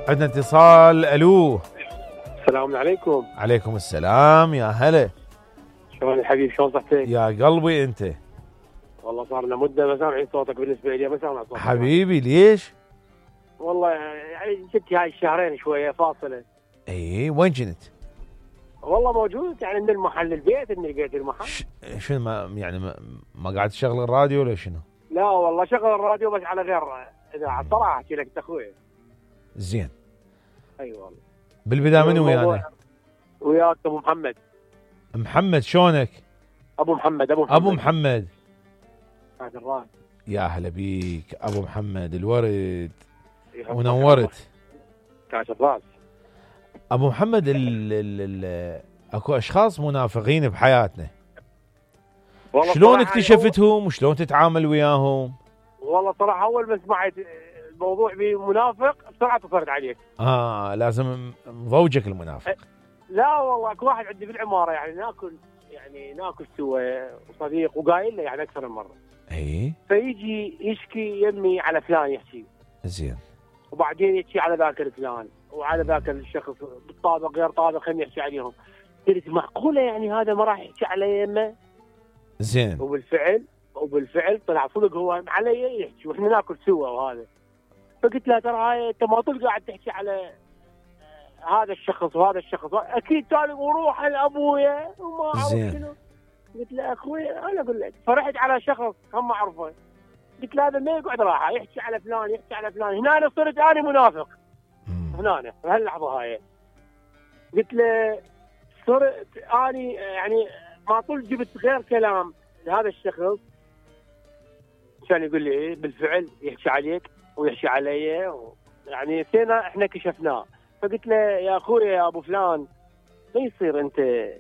عندنا اتصال. الو، السلام عليكم. عليكم السلام، يا هلا. شلون الحبيب، شلون صحتك؟ يا قلبي انت. والله صار لنا مده ما سامعين صوتك، بالنسبه لي ما سامع صوتك حبيبي ليش؟ والله يعني جبت هاي الشهرين شويه فاصله. اي وين كنت؟ والله موجود يعني من المحل للبيت، من البيت للمحل. شنو يعني ما قاعد تشغل الراديو ولا شنو؟ لا والله شغل الراديو بس على غير اذاعه. صراحه احكي لك انت اخوي. زين. اي والله. بالبدايه منو ويانا؟ وياك ابو محمد. محمد شلونك؟ ابو محمد. ابو محمد. هذا الراس. يا هلا بيك ابو محمد الورد ونورت. كاش الراس. ابو محمد اكو اشخاص منافقين بحياتنا، شلون اكتشفتهم وشلون تتعامل وياهم؟ والله صراحه اول ما سمعت الموضوع بمنافق بسرعه اتصلت عليك. لازم مضوجك المنافق. لا والله اكو واحد عندي بالعماره يعني ناكل سوا وصديق وقايل له يعني اكثر من مره. اي فيجي يشكي يمي على فلان يحكي. زين. وبعدين يحكي على ذاك الفلان وعلى ذاك الشخص بالطابق غير طابق خلينا يحكي عليهم. قلت معقوله يعني هذا ما راح يحكي على يمه؟ زين. وبالفعل طلع صدق هو علي يحكي واحنا ناكل سوا وهذا. فقلت له ترى هاي انت ما طول قاعد تحكي على هذا الشخص وهذا الشخص، اكيد تالي وروح لابويا وما اعرف شنو. قلت له اخوي انا اقول لك، فرحت على شخص هم اعرفه. قلت له هذا ما يقعد راحه يحكي على فلان هنا أنا صرت انا منافق. هنا بهاللحظه هاي قلت له صرت اني يعني ما طول جبت غير كلام لهذا الشخص كان يقول لي ايه بالفعل يحكي عليك ويحكي علي يعني سينا احنا كشفناه. فقلت له يا اخوي يا ابو فلان ما يصير انت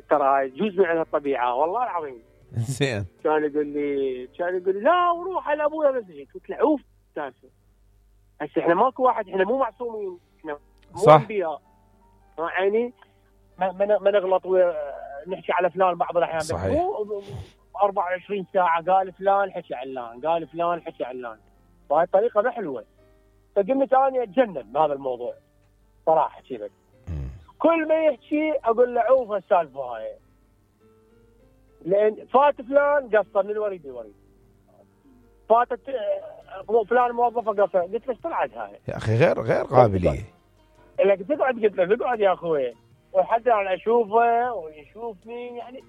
ترى هاي جزء من الطبيعه والله العظيم. زين. كان يقول لي لا وروح على ابويا بس هيك. قلت له عوف هسه احنا ماكو واحد، احنا مو معصومين، احنا مو انبياء يعني ما نغلط نحكي على فلان بعض الاحيان. صحيح. 24 ساعه قال فلان حكي علان، قال فلان حكي علان، وهاي الطريقه ما حلوه. فقمت اني اتجنن بهذا الموضوع صراحه احكي لك. كل ما يحكي اقول له عوف السالفه هاي، لان فات فلان قصر من الوريد للوريد، فاتت فلان موظفه قصر. قلت له ايش طلعت هاي يا اخي غير قابليه. لك تقعد قلت له اقعد يا اخوي وحتى انا اشوفه ويشوفني يعني.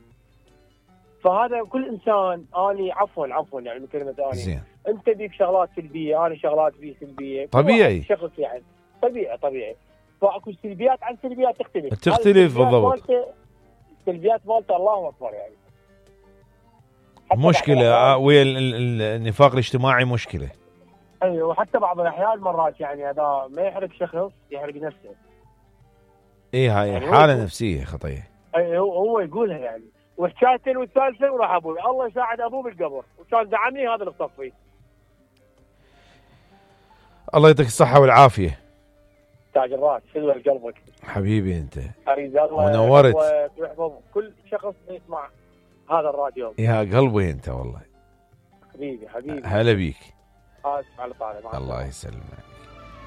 فهذا كل انسان اني عفوا يعني من كلمه اني. زين. انت بيك شغلات سلبيه، انا شغلات بي سلبيه، طبيعي شخص يعني طبيعي. فاكو سلبيات عن سلبيات تختلف بالضبط. السلبيات مالته الله اكبر يعني مشكله ويا النفاق الاجتماعي مشكله. ايوه وحتى بعض الاحيان مرات يعني هذا ما يحرق شخص يحرق نفسه. هاي يعني حاله نفسيه خطيه. اي هو يقولها يعني. وحكايتين والثالثه وراح ابوي الله يساعد ابوه بالقبر وكان دعمني هذا اللي اخطفيه. الله يعطيك الصحه والعافيه. تاج الراس حلوه لقلبك حبيبي انت. اريد الله ونورت ويحفظ كل شخص يسمع هذا الراديو. يا قلبي انت والله. حبيبي هلا بيك. اسف على طالب. الله يسلمك.